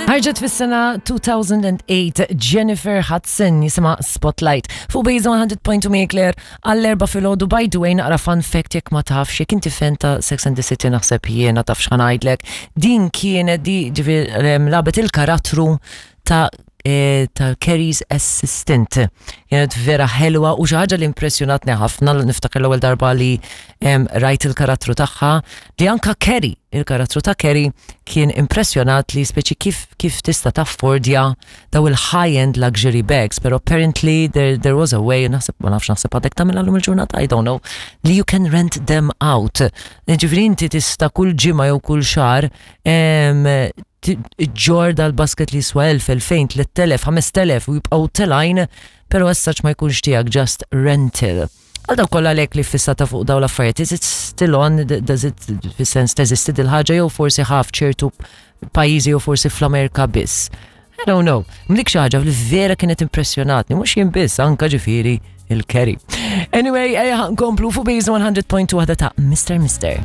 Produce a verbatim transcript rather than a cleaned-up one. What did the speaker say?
Ħarġet fis-sena two thousand and eight, Jennifer Hudson, jisimha Spotlight. Fuq Base one hundred point two Claire għall-erbgħa filgħodu. By the way, naqra fun fact jekk ma tafx, jekk inti fan ta' Sex and the City, naħseb jiena taf x'ħa ngħidlek. Din kienet di ġifieri lagħbet il-karattru ta' eh, ta' Carrie's assistant. Kienet vera ħelwa u xi ħaġa li impressjonatni ħafna li niftakar l-ewwel darba li em, rajt il-karattru tagħha, li anka Carrie, il-karattru ta' Carrie kien impressjonat li speċi kif kif tista' taffordja daw il-high-end luxury bags, pero apparently there, there was a way, naħseb, ma nafx, naħseb għadek tagħmilha llum il-ġurnata, I don't know, li you can rent them out. Ġifieri inti tista' kull ġimgħa jew kull xahar em, ġġorr dal-basket li jiswa elf, elfejn, tliet elef, ħamest elef u jibqgħu telgħin, pero as such ma jkunx tiegħek, just rental. Għal dawk kollha lek li fissata fuq daw l-affarijiet, is it still on, does it, fis-sens teżisti dil-ħaġa jew forsi ħaf ċertu pajjiżi jew forsi fl-Amerika biss? I don't know. Mlik xi ħaġa li vera kienet impressjonatni, mhux jien biss, anka ġifieri il-Carrie. Anyway, ejja nkomplu fuq Base one hundred point two, ta' Mister Mister.